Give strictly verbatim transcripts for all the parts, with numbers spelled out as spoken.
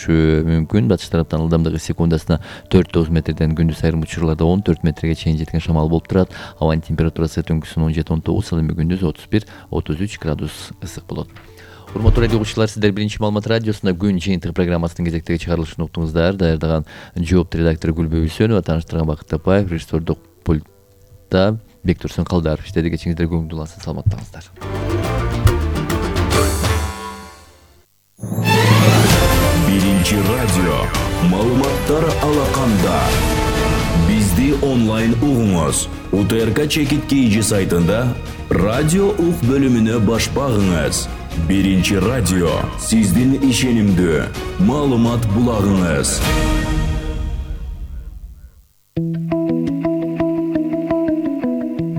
болушу мүмкүн. Батыш тараптан ылдамдыгы секундасына төрт тогуз метрден, күндүз айрым учурларда он төрт метрге чейин жеткен шамал болуп турат. Абанын температурасы түнкүсүн он жети он тогуз, ал эми күндүз отуз бир отуз үч градус ысык болот. Урматтуу радио угуучулар, сиздер биринчи маалымат радиосунда күн жыйынтыгы программасынын кезектеги чыгарылышын уктуңуздар. Даярдаган жоопту редактор Гүлбү Үсөнова, тааныштырган Бакыт Тапаев, режиссердук пультта Бектурсун Калдаров. Иштеди, кечиңиздер көңүлдүү улансын, саламаттаңыздар. Биринчи радио маалыматтар алаканда. Бизди онлайн угуңуз. У Т Р К Чекит Кийжи сайтында радио ук бөлүмүнө баш багыңыз. Биринчи радио сиздин ишенимдүү маалымат булагыңыз.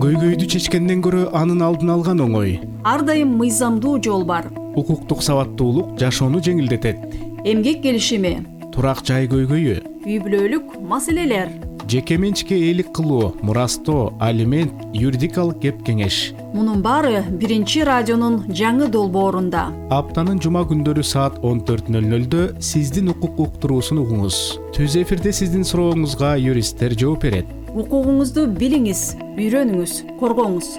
Көйгөйдү чечкенден көрө анын алдын алган оңой. Ар дайым мыйзамдуу жол бар. Укуктук сабаттуулук жашоону жеңилдетет. Эмгек келишими, турак жай көйгөйү, үй бүлөлүк маселелер, жеке менчикке ээлик кылуу, мурастоо, алимент, юридикалык кеп кеңеш. Мунун баары биринчи радионун жаңы долбоорунда. Аптанын жума күндөрү саат он төрт нөл нөлдө сиздин укук уктуруусун угуңуз. Түз эфирде сиздин сурооңузга юристтер жооп берет. Укугуңузду билиңиз, үйрөнүңүз, коргоңуз.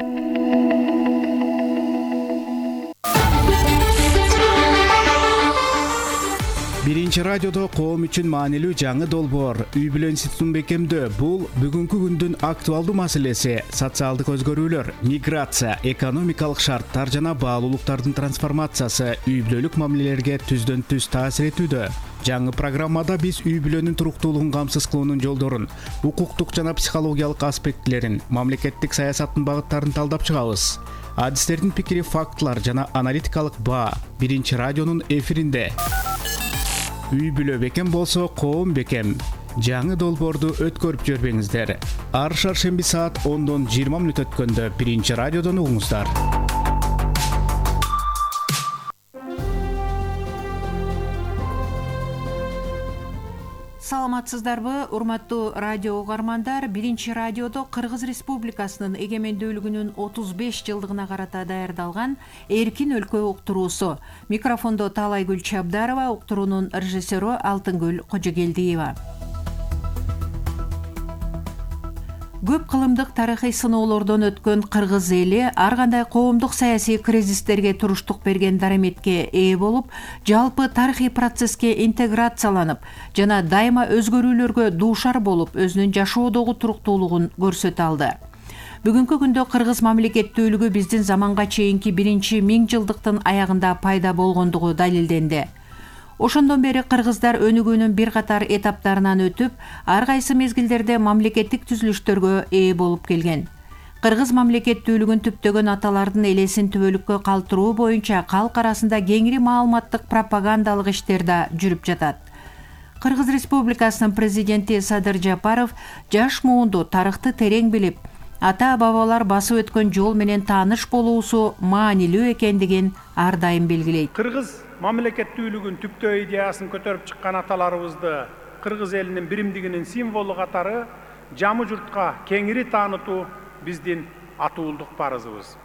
Биринчи радиодо коом үчүн маанилүү жаңы долбоор үй бүлө институтун бекемдөө. Бул бүгүнкү күндүн актуалдуу маселеси. Социалдык өзгөрүүлөр, миграция, экономикалык шарттар жана баалуулуктардын трансформациясы үй бүлөлүк мамилелерге түздөн түз таасир этүүдө. Жаңы программада биз үй бүлөнүн туруктуулугун камсыз кылуунун жолдорун, укуктук жана психологиялык аспектилерин, мамлекеттик саясаттын багыттарын талдап чыгабыз. Адистердин пикири, фактылар жана аналитикалык баа биринчи радионун эфиринде. Үй бүлө бекем болсо, коом бекем. Жаңы долбоорду өткөрүп жөрбөңүздөр. Ар шаршемби саат ондон жыйырма мүнөт өткөндө биринчи радиодон угуңуздар. Саламатсыздарбы, урматтуу радио угармандар? Биринчи радиодо Кыргыз Республикасынын эгемендүүлүгүнүн отуз беш жылдыгына карата даярдалган Эркин өлкө уктуруусу. Микрофондо Таалайгүл Чабдарова, уктуруунун режиссеру Алтынгүл Кожогелдиева. Көп кылымдык тарыхый сыноолордон өткөн кыргыз эли ар кандай коомдук саясий кризистерге туруштук берген дараметке ээ болуп, жалпы тарыхый процесске интеграцияланып жана дайыма өзгөрүүлөргө дуушар болуп, өзүнүн жашоодогу туруктуулугун көрсөтө алды. Бүгүнкү күндө кыргыз мамлекеттүүлүгү биздин заманга чейинки биринчи миң жылдыктын аягында пайда болгондугу далилденди. Ошондон бери кыргыздар өнүгүүнүн бир катар этаптарынан өтүп, ар кайсы мезгилдерде мамлекеттик түзүлүштөргө ээ болуп келген. Кыргыз мамлекеттүүлүгүн түптөгөн аталардын элесин түбөлүккө калтыруу боюнча калк арасында кеңири маалыматтык пропагандалык иштер да жүрүп жатат. Кыргыз Республикасынын президенти Садыр Жапаров жаш муунду тарыхты терең билип, ата-бабалар басып өткөн жол менен тааныш болуусу маанилүү экендигин ар дайым белгилейт. Кыргыз мамлекеттүүлүгүн түптөө идеясын көтөрүп чыккан аталарыбызды кыргыз элинин биримдигинин символу катары жамы журтка кеңири таанытуу биздин атуулдук парызыбыз.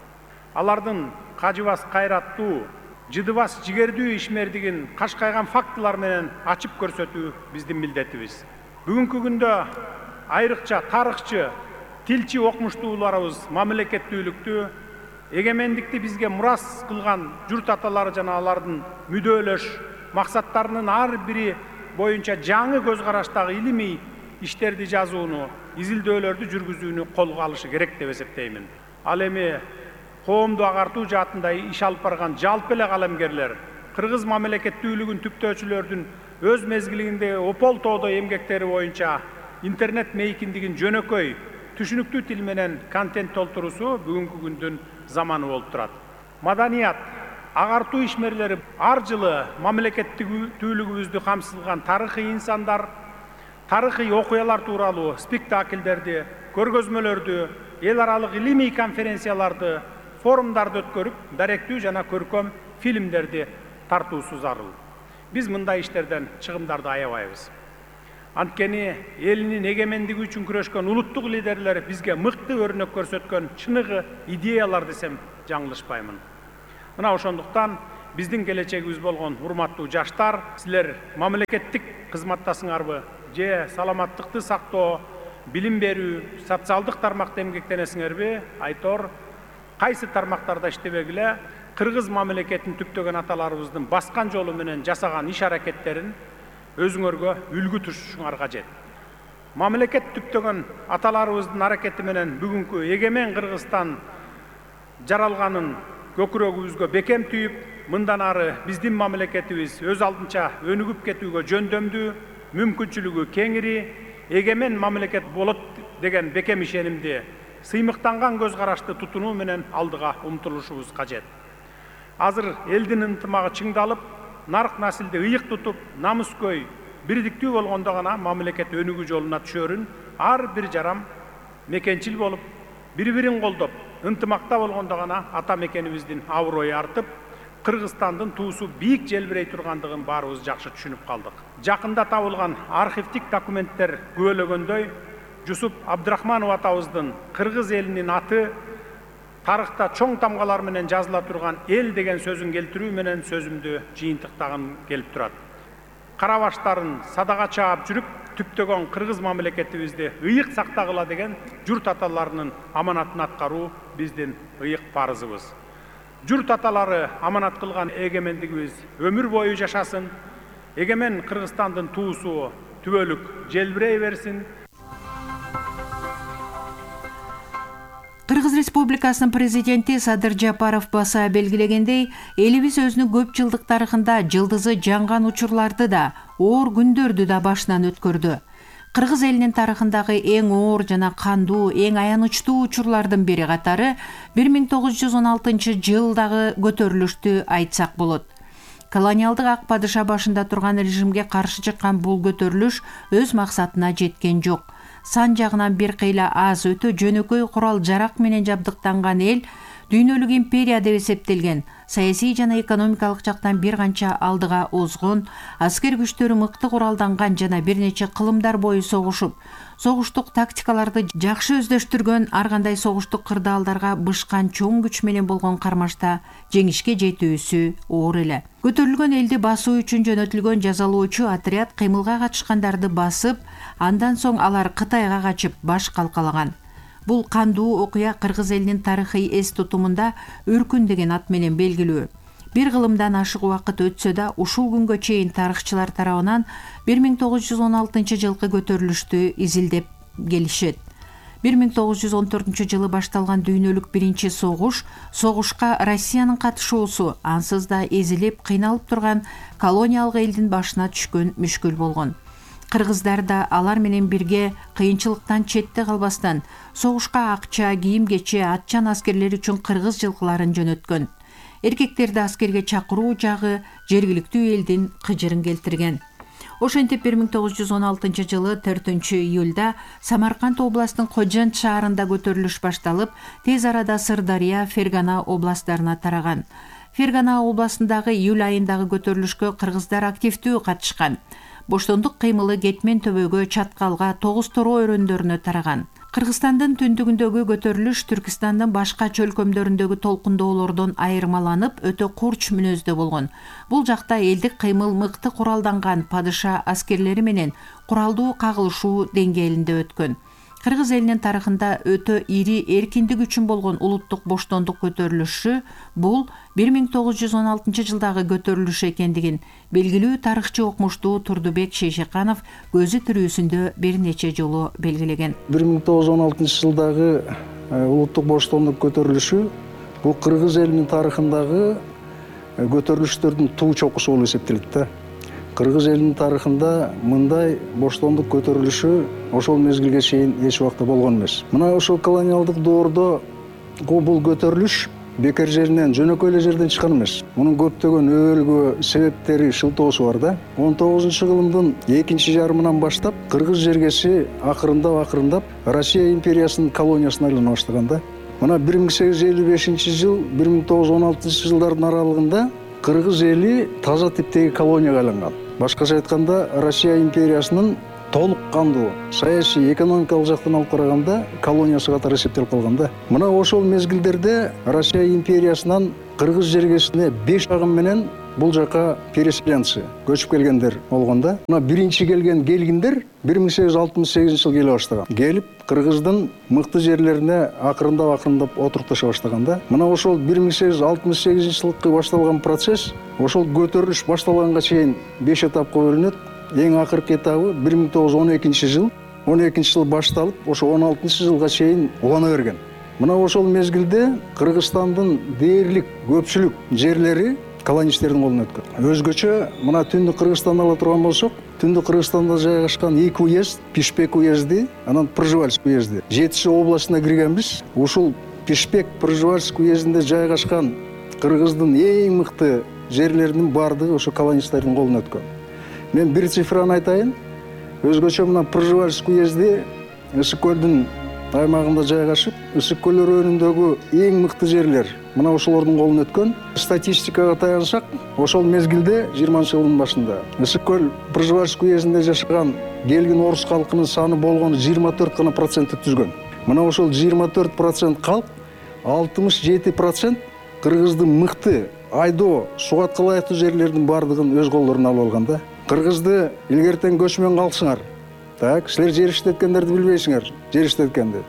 Алардын кажыбас кайраттуу, жыдыбас жигердүү ишмердигин кашкайган фактылар менен ачып көрсөтүү биздин милдетибиз. Бүгүнкү күндө айрыкча тарыхчы, тилчи окумуштууларыбыз мамлекеттүүлүктү, эгемендикти бизге мурас кылган журт аталары жана алардын мүдөлөш максаттарынын ар бири боюнча жаңы көз караштагы илимий иштерди жазууну, изилдөөлөрдү жүргүзүүнү колго алышы керек деп эсептеймин. Ал эми коомду агартуу жаатында иш алып барган жалпы эле калемгерлер кыргыз мамлекеттүүлүгүн түптөөчүлөрдүн өз мезгилинде опол тоодо эмгектери боюнча интернет мейкиндигин жөнөкөй, түшүнүктүү тил менен контент толтуруусу бүгүнкү күндүн заманы болуп турат. Маданият, агартуу ишмерлери ар жылы мамлекеттүүлүгүбүздү камсызган тарыхый инсандар, тарыхый окуялар тууралуу спектакльдерди, көргөзмөлөрдү, эл аралык илимий конференцияларды, форумдарды өткөрүп, даректүү жана көркөм фильмдерди тартуусу зарыл. Биз мындай иштерден чыгымдарды аябайбыз. Анткени элинин эгемендиги үчүн күрөшкөн улуттук лидерлер бизге мыкты өрнөк көрсөткөн чыныгы идеялар десем жаңылышпаймын. Мына ошондуктан биздин келечегибиз болгон урматтуу жаштар, силер мамлекеттик кызматтасыңарбы же саламаттыкты сактоо, билим берүү, социалдык тармакта эмгектенесиңерби? Айтор, кайсы тармактарда иштебегиле кыргыз мамлекетин түптөгөн аталарыбыздын баскан жолу менен жасаган иш аракеттерин өзүңөргө үлгү тутушуңар кажет. Мамлекет түптөгөн аталарыбыздын аракети менен бүгүнкү эгемен Кыргызстан жаралганын көкүрөгүбүзгө бекем түйүп, мындан ары биздин мамлекетибиз өз алдынча өнүгүп кетүүгө жөндөмдүү, мүмкүнчүлүгү кеңири, эгемен мамлекет болот деген бекем ишенимди, сыймыктанган көз карашты тутунуу менен алдыга умтулушубуз кажет. Азыр элдин ынтымагы чыңдалып, нарк насилди ыйык тутуп, намыскөй, бирдиктүү болгондо гана мамлекет өнүгүү жолуна түшөрүн ар бир жарам мекенчил болуп, бири-бирин колдоп, ынтымакта болгондо гана ата мекенибиздин аброю артып, Кыргызстандын туусу бийик желбирей тургандыгын баарыбыз жакшы түшүнүп калдык. Жакында табылган архивдик документтер күбөлөгөндөй, Жусуп Абдрахманов атабыздын кыргыз элинин аты тарыхта чоң тамгалар менен жазыла турган эл деген сөзүн келтирүү менен сөзүмдү жыйынтыктагым келип турат. Кара баштарын садага чаап жүрүп, түптөгөн кыргыз мамлекетибизди ыйык сактагыла деген журт аталарынын аманатын аткаруу биздин ыйык парызыбыз. Журт аталары аманат кылган эгемендигибиз өмүр бою жашасын, эгемен Кыргызстандын туусу түбөлүк желбирей берсин. Кыргыз Республикасынын президенти Садыр Жапаров баса белгилегендей, элибиз өзүнүн көп жылдык тарыхында жылдызы жанган учурларды да, оор күндөрдү да башынан өткөрдү. Кыргыз элинин тарыхындагы эң оор жана кандуу, эң аянычтуу учурлардын бири катары бир миң тогуз жүз он алтынчы жылдагы көтөрүлүштү айтсак болот. Колониалдык ак падыша башында турган режимге каршы чыккан бул көтөрүлүш өз максатына жеткен жок. Сан жагынан бир кыйла аз, өтө жөнөкөй курал жарак менен жабдыктанган эл дүйнөлүк империя деп эсептелген, саясий жана экономикалык жактан бир канча алдыга озгон, аскер күчтөрү мыкты куралданган жана бир нече кылымдар бою согушуп, согуштук тактикаларды жакшы өздөштүргөн, ар кандай согуштук кырдаалдарга бышкан чоң күч менен болгон кармашта жеңишке жетүүсү оор эле. Көтөрүлгөн элди басуу үчүн жөнөтүлгөн жазалоочу отряд кыймылга катышкандарды басып, андан соң алар Кытайга качып баш калкалаган. Бул кандуу окуя кыргыз элинин тарыхый эс тутумунда өркүн деген ат менен белгилүү. Бир кылымдан ашык убакыт өтсө да, ушул күнгө чейин тарыхчылар тарабынан бир миң тогуз жүз он алтынчы жылкы көтөрүлүштү изилдеп келишет. бир миң тогуз жүз он төртүнчү жылы башталган дүйнөлүк биринчи согуш, согушка Россиянын катышуусу ансыз да эзилип, кыйналып турган колониялык элдин башына түшкөн мүшкүл болгон. Кыргыздар да алар менен бирге кыйынчылыктан четте калбастан согушка акча, кийим-кече, атчан аскерлер үчүн кыргыз жылкыларын жөнөткөн. Эркектерди аскерге чакыруу жагы жергиликтүү элдин кыжырын келтирген. Ошентип бир миң тогуз жүз он алтынчы жылы төртүнчү июлда Самарканд областынын Кожент шаарында көтөрүлүш башталып, тез арада Сырдария, Фергана областтарына тараган. Фергана областындагы июль айындагы көтөрүлүшкө кыргыздар активдүү катышкан. Боштондук кыймылы Кетмен төбөгө, Чаткалга, Тогуз Торо өрөндөрүнө тараган. Кыргызстандын түндүгүндөгү көтөрүлүш Түркистандын башка чөлкөмдөрүндөгү толкундоолордон айырмаланып, өтө курч мүнөздө болгон. Бул жакта элдик кыймыл мыкты куралданган падыша аскерлери менен куралдуу кагылышуу деңгээлинде өткөн. Кыргыз элинин тарыхында өтө ири эркиндик үчүн болгон улуттук боштондук көтөрүлүшү бул бир миң тогуз жүз он алтынчы жылдагы көтөрүлүш экендигин белгилүү тарыхчы окумуштуу Турдубек Шейшеканов көзү тирүүсүндө бир нече жолу белгилеген. бир миң тогуз жүз он алтынчы жылдагы улуттук боштондук көтөрүлүшү бул кыргыз элинин тарыхындагы көтөрүлүштөрдүн туу чокусу болуп эсептелет да. Кыргыз элинин тарыхында мындай боштондук көтөрүлүшү ошол мезгилге чейин эч убакта болгон эмес. Мына ошол колониалдык доордо бул көтөрүлүш бекер жеринен, жөнөкөй эле жерден чыккан эмес. Мунун көптөгөн өбөлгө себептери, шылтоосу бар да. он тогузунчу кылымдын экинчи жарымынан баштап кыргыз жергеси акырындап акырындап Россия империясынын колониясына айлана баштаган да. Мына бир миң сегиз жүз элүү бешинчи жыл, бир миң тогуз жүз он алтынчы жылдардын аралыгында кыргыз эли таза типтеги колонияга айланган. Башкача айтканда, Россия империясынын толук кандуу саясий, экономикалык жактан алып караганда колониясы катары эсептелип калган да. Мына ошол мезгилдерде Россия империясынан кыргыз жергесине беш агым менен бул жака переселенцы көчүп келгендер болгон да. Мына биринчи келген келгиндер бир миң сегиз жүз алтымыш сегизинчи жылы келе баштаган. Келип кыргыздын мыкты жерлерине акырындап акырындап отурукташа баштаган да. Мына ошол бир миң сегиз жүз алтымыш сегизинчи жылкы башталган процесс ошол көтөрүлүш башталганга чейин беш этапка бөлүнөт. Эң акыркы этабы бир миң тогуз жүз он экинчи жыл. он экинчи жыл башталып, ошо он алтынчы жылга чейин улана берген. Мына ошол мезгилде Кыргызстандын дээрлик көпчүлүк жерлери колонисттердин колуна өткөн. Өзгөчө мына Түндүк Кыргызстанды ала турган болсок, Түндүк Кыргызстанда жайгашкан эки уезд, Пишпек уезди, анан Пржевальск уезди. Жетиши областына киргенбиз. Ушул Пишпек, Пржевальск уездинде жайгашкан Кыргыздын эң мыкты жерлеринин баардыгы ошо колонисттердин колуна өткөн. Мен бир цифраны айтайын. Өзгөчө мына Пржевальск уезди Ысык көлдүн аймагында жайгашып, Ысык көл өрөөнүндөгү эң мыкты жерлер мына ошолордун колуна өткөн. Статистикага таянсак, ошол мезгилде жыйырманчы жылдын башында Ысык көл Пржевальск уездинде жашаган келгин орус калкынын саны болгону жыйырма төрт гана процентти түзгөн. Мына ошол жыйырма төрт процент калк алтымыш жети процент кыргыздын мыкты айдоо, сугатка ылайыктуу жерлердин баардыгын өз колдоруна алып алган да. Кыргызды илгертен көчмөн калсыңар. Так, силер жер иштеткендерди билбейсиңер, жер иштеткенди.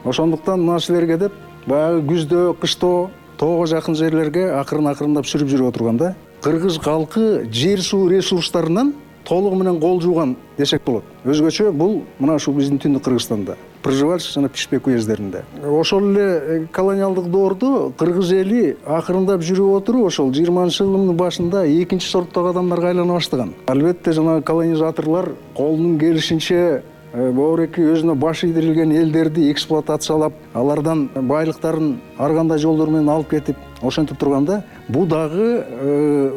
Ошондуктан мына силерге деп баягы күздө, кышто тоого жакын жерлерге акырын-акырындап сүрүп жүрүп отурган да. Кыргыз калкы жер суу ресурстарынан толугу менен кол жууган десек болот. Өзгөчө бул мына ушул биздин Түндүк Кыргызстанда, Пржевальск жана Пишпек уездеринде. Ошол эле колониалдык доордо кыргыз эли акырындап жүрүп отуруп, ошол жыйырманчы жылдын башында экинчи сорттогу адамдарга айлана баштаган. Албетте жана колонизаторлор колунун келишинче боореки өзүнө баш ийдирилген элдерди эксплуатациялап, алардан байлыктарын ар кандай жолдор менен алып кетип, ошентип турганда, бул дагы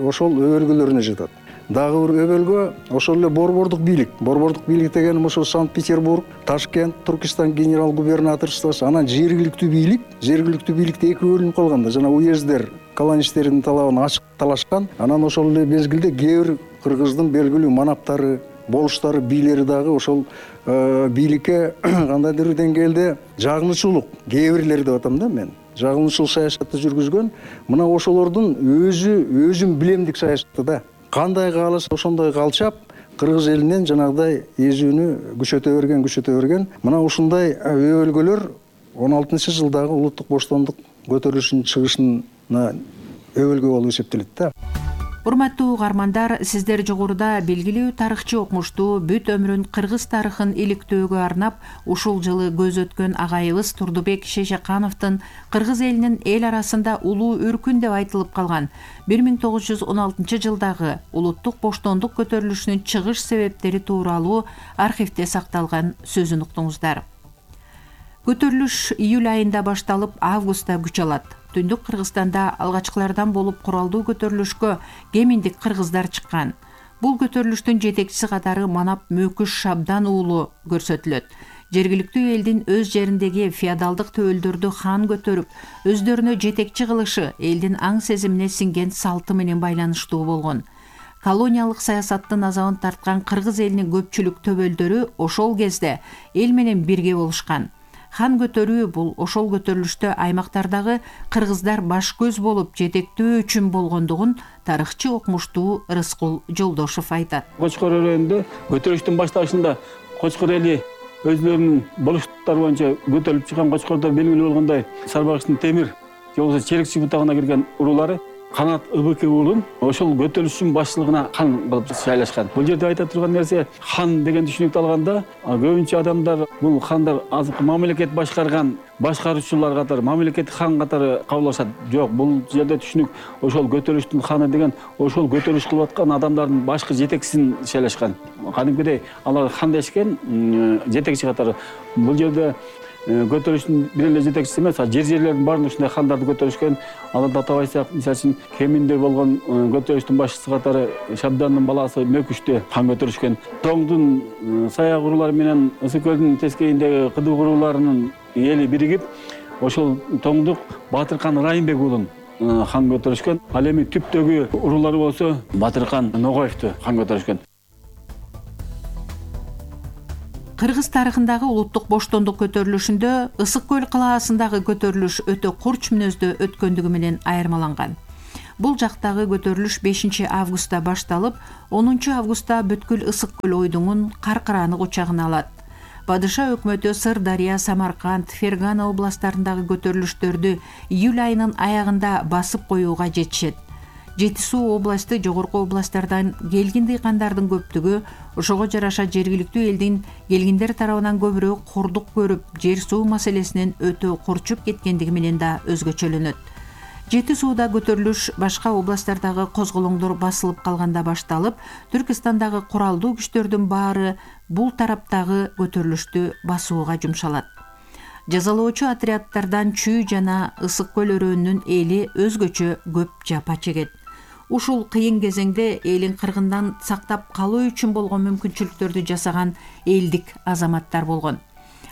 ошол өбөлгөлөрүнө жатат. Дагы бир өбөлгө ошол эле борбордук бийлик. Борбордук бийлик дегеним ошо Санкт-Петербург, Ташкент, Туркестан генерал губернаторствосу, анан жергиликтүү бийлик. Жергиликтүү бийликте эки бөлүнүп калган да, жана уездер колонисттердин талабын ачык талашкан. Анан ошол эле мезгилде кээ бир кыргыздын белгилүү манаптары, болуштары, бийлери дагы ошол бийликке кандайдыр бир деңгээлде жагынычуулук, кээ бирлери деп атам да мен. Жагынычуу саясатты жүргүзгөн. Мына ошолордун өзү өзүн билемдик саясаты да. Кандай кааласа ошондой калчап, кыргыз элинен жанагыдай эзүүнү күчөтө берген, күчөтө берген. Мына ушундай өбөлгөлөр он алтынчы жылдагы улуттук боштондук көтөрүлүшүнүн чыгышына өбөлгө болуп эсептелет да. Урматтуу угармандар, сиздер жогоруда белгилүү тарыхчы окумуштуу бүт өмүрүн кыргыз тарыхын иликтөөгө арнап, ушул жылы көз өткөн агайыбыз Турдубек Шейшакановдун кыргыз элинин эл арасында улуу үркүн деп айтылып калган бир миң тогуз жүз он алтынчы жылдагы улуттук боштондук көтөрүлүшүнүн чыгыш себептери тууралуу архивде сакталган сөзүн уктуңуздар. Көтөрүлүш июль айында башталып, августта күч алат. Түндүк Кыргызстанда алгачкылардан болуп куралдуу көтөрүлүшкө кеминдик кыргыздар чыккан. Бул көтөрүлүштүн жетекчиси катары Манап Мөкүш Шабдан уулу көрсөтүлөт. Жергиликтүү элдин өз жериндеги феодалдык төөлдөрдү хан көтөрүп, өздөрүнө жетекчи кылышы элдин аң сезимине сиңген салты менен байланыштуу болгон. Колониялык саясаттын азабын тарткан кыргыз элинин көпчүлүк төбөлдөрү ошол кезде эл менен бирге болушкан. Хан көтөрүү бул ошол көтөрүлүштө аймактардагы кыргыздар баш көз болуп жетектөө үчүн болгондугун тарыхчы окумуштуу Рыскул Жолдошов айтат. Кочкор өрөөнүндө көтөрүлүштүн башталышында Кочкор эли өзлөрүнүн болуштуктары боюнча көтөрүлүп чыккан Кочкордо белгилүү болгондой Сарбагычтын Темир же болбосо Черекчи бутагына кирген урулары Канат ыбык уулун ошол көтөрүлүштүн башчылыгына хан кылып шайлашкан. Бул жерде айта турган нерсе, хан деген түшүнүктү алганда көбүнчө адамдар бул хандар азыркы мамлекет башкарган башкаруучулар катары, мамлекеттик хан катары кабыл алышат. Жок, бул жерде түшүнүк ошол көтөрүлүштүн ханы деген ошол көтөрүлүш кылып аткан адамдардын башкы жетекчисин шайлашкан. Кадимкидей алар хан дешкен жетекчи катары. Бул жерде көтөрүлүштүн бир эле жетекчиси эмес, жер жерлердин баарын ушундай хандарды көтөрүшкөн. Аларды атабайсак, мисалы үчүн Кеминде болгон көтөрүлүштүн башчысы катары Шабдандын баласы Мөкүштү хан көтөрүшкөн. Тоңдун саяк урулары менен Ысык көлдүн тескейиндеги кыдык уруларынын эли биригип, ошол Тоңдук Батыркан Райымбек уулун хан көтөрүшкөн. Ал эми түптөгү урулары болсо Батыркан Ногоевду хан көтөрүшкөн. Кыргыз тарыхындагы улуттук боштондук көтөрүлүшүндө Ысык көл калаасындагы көтөрүлүш өтө курч мүнөздө өткөндүгү менен айырмаланган. Бул жактагы көтөрүлүш бешинчи августта башталып, онунчу августта бүткүл Ысык көл ойдуңун Каркыраны кучагына алат. Падыша өкмөтү Сырдария, Самарканд, Фергана областтарындагы көтөрүлүштөрдү июль айынын аягында басып коюуга жетишет. Жети Суу областы жогорку областтардан келгин дыйкандардын көптүгү ошого жараша жергиликтүү элдин келгиндер тарабынан көбүрөөк кордук көрүп, жер суу маселесинен өтө курчуп кеткендиги менен да өзгөчөлөнөт. Жети Сууда көтөрүлүш башка областтардагы козголоңдор басылып калганда башталып, Түркистандагы куралдуу күчтөрдүн баары бул тараптагы көтөрүлүштү басууга жумшалат. Жазалоочу отрядтардан Чүй жана Ысык көл өрөөнүнүн эли өзгөчө көп жапа чегет. Ушул кыйын кезеңде элин кыргындан сактап калуу үчүн болгон мүмкүнчүлүктөрдү жасаган элдик азаматтар болгон.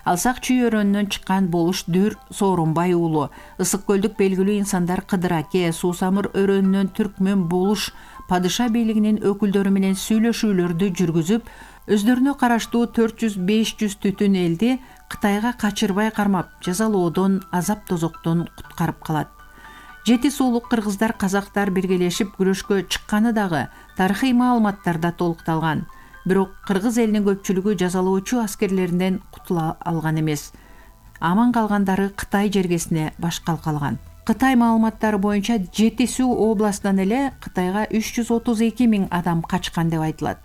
Алсак Чүй өрөөнүнөн чыккан Болуш Дүр Соорунбай уулу, Ысык көлдүк белгилүү инсандар Кыдыр Аке, Суусамыр өрөөнүнөн Түркмөн Болуш падыша бийлигинин өкүлдөрү менен сүйлөшүүлөрдү жүргүзүп, өздөрүнө караштуу төрт жүз беш жүз түтүн элди Кытайга качырбай кармап, жазалоодон, азап тозоктон куткарып калат. Жети суулук кыргыздар, казактар биргелешип күрөшкө чыкканы дагы тарыхый маалыматтарда толукталган. Бирок кыргыз элинин көпчүлүгү жазалоочу аскерлеринен кутула алган эмес. Аман калгандары Кытай жергесине баш калкалган. Кытай маалыматтары боюнча Жети Суу областынан эле Кытайга үч жүз отуз эки миң адам качкан деп айтылат.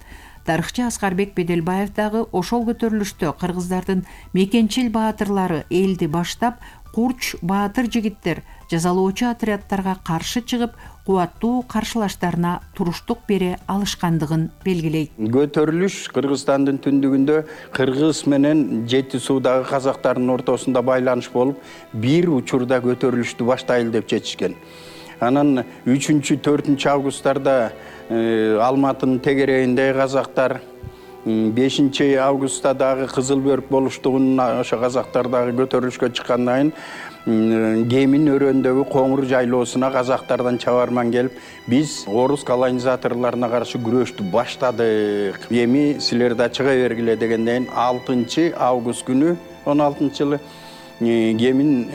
Тарыхчы Аскарбек Беделбаев дагы ошол көтөрүлүштө кыргыздардын мекенчил баатырлары элди баштап, Курч баатыр жигиттер жазалоочу отрядтарга каршы чыгып, кубаттуу каршылаштарына туруштук бере алышкандыгын белгилейт. Көтөрүлүш Кыргызстандын түндүгүндө Кыргыз менен Жети Суудагы казактардын ортосунда байланыш болуп, бир учурда көтөрүлүштү баштайлы деп чечишкен. Анан үчүнчү төртүнчү августтарда Алматынын тегерегиндеги казактар, бешинчи августта дагы Кызыл Бөрк болуштугунун ошо казактар дагы көтөрүлүшкө чыккандан кийин Кемин өрөөндөгү Коңур жайлоосуна казактардан чабарман келип, биз орус колонизаторлоруна каршы күрөштү баштадык. Эми силер да чыга бергиле дегенден кийин алтынчы август күнү он алтынчы жылы Кемин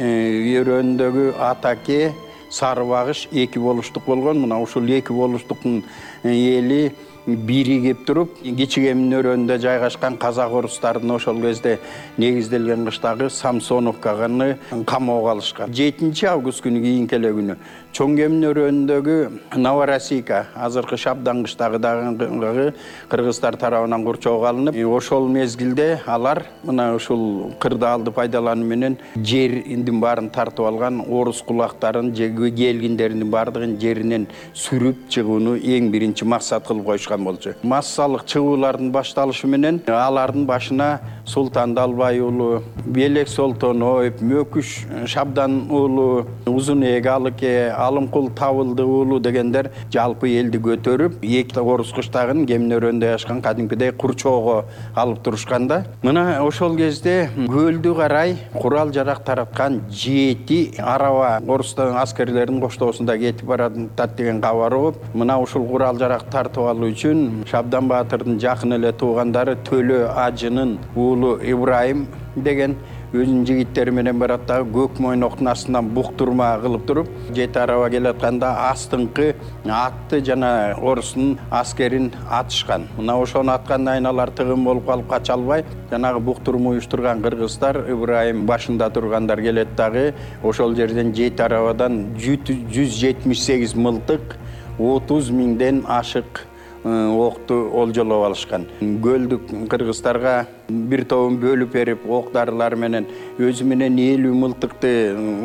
өрөөндөгү Атаке, Сары Багыш эки болуштук болгон. Мына ушул эки болуштуктун эли биригип туруп, Кичи Кемин өрөөнүндө жайгашкан казак орустардын ошол кезде негизделген кыштагы Самсоновканы камоого алышкан. жетинчи август күнү кийинки эле күнү Чоң Кемин өрөөнүндөгү Новороссийка, азыркы Шабдан кыштагы дагы кыргыздар тарабынан курчоого алынып, ошол мезгилде алар мына ушул кырдаалды пайдалануу менен жердин баарын тартып алган, орус кулактарын, келгиндердин баардыгын жеринен сүрүп чыгууну эң биринчи максат кылып койушкан болчу. Массалык чыгуулардын башталышы менен алардын башына Султан Далбай уулу, Белек Солтоноев, Мөкүш Шабдан уулу, Узунээк Алыке, Алымкул Табылды уулу дегендер жалпы элди көтөрүп, эки орус кыштагын Кемин өрөөнүндө жашкан кадимкидей курчоого алып турушканда, мына ошол кезде көлдү карай курал жарак тараткан жети араба орустан аскерлердин коштоосунда кетип баратат деген кабар угуп, мына ушул курал жарак тартып алуу үчүн Шабдан баатырдын жакын эле туугандары Төлө Ажынын уулу Ибрайым деген өзүнүн жигиттери менен барат дагы көк мойноктун астынан буктурма кылып туруп, жети араба келатканда астыңкы атты жана орустун аскерин атышкан. Мына ошону аткандан кийин алар тыгын болуп калып кача албай, жанагы буктурма уюштурган кыргыздар, Ибрайым башында тургандар келет дагы ошол жерден жети арабадан жүз жетимиш сегиз мылтык, отуз миңден ашык окту олжолоп алышкан. Көлдүк кыргыздарга бир тобун бөлүп берип, ок дарылар менен өзү менен элүү мылтыкты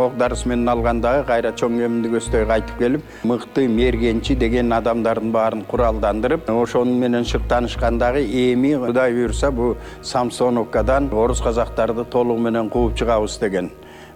ок дарысы менен алгандагы кайра Чоң Кеминди көздөй кайтып келип, мыкты мергенчи деген адамдардын баарын куралдандырып, ошону менен шыктанышкандагы эми Кудай буйрса бу Самсоновкадан орус казактарды толугу менен кууп чыгабыз деген.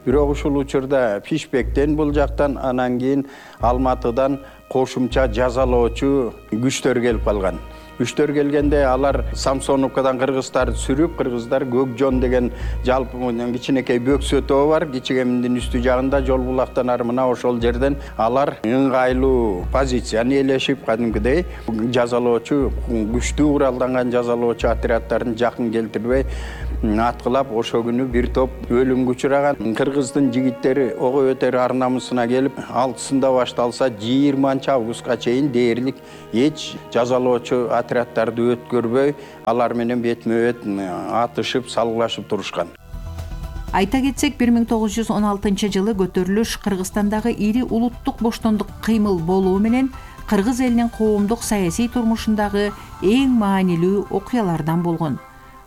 Бирок ушул учурда Пишпектен бул жактан, анан кийин Алматыдан кошумча жазалоочу күчтөр келип калган. Күчтөр келгенде алар Самсоновкадан кыргыздарды сүрүп, кыргыздар Көкжон деген жалпы кичинекей бөксө тоо бар, Кичи Кеминдин үстү жагында жол булактан ары мына ошол жерден алар ыңгайлуу позицияны ээлешип, кадимкидей жазалоочу күчтүү куралданган жазалоочу отряддарын жакын келтирбей аткылап ошо күнү бир топ өлүмгө учураган. Кыргыздын жигиттери ого өтөр ар намысына келип, алтысында башталса жыйырманчы августка чейин дээрлик эч жазалоочу отряддарды өткөрбөй, алар менен бетме-бет атышып, салгылашып турушкан. Айта кетсек, бир миң тогуз жүз он алтынчы жылы көтөрүлүш Кыргызстандагы ири улуттук боштондук кыймыл болуу менен кыргыз элинин коомдук саясий турмушундагы эң маанилүү окуялардан болгон.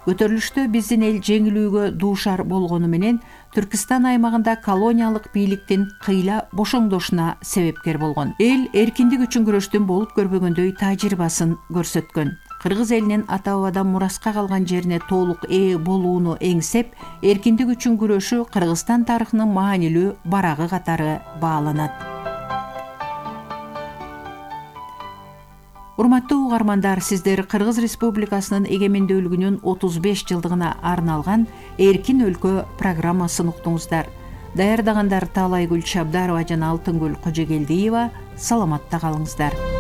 Көтөрүлүштө биздин эл жеңилүүгө дуушар болгону менен Түркистан аймагында колониялык бийликтин кыйла бошоңдошуна себепкер болгон. Эл эркиндик үчүн күрөштүн болуп көрбөгөндөй тажрыйбасын көрсөткөн. Кыргыз элинин ата-бабадан мураска калган жерине толук ээ болууну эңсеп, эркиндик үчүн күрөшү Кыргызстан тарыхынын маанилүү барагы катары бааланат. Урматтуу угармандар, сиздер Кыргыз Республикасынын эгемендүүлүгүнүн отуз беш жылдыгына арналган Эркин өлкө программасын уктуңуздар. Даярдагандар Таалайгүл Чабдарова жана Алтынгүл Кожогелдиева. Саламатта калыңыздар.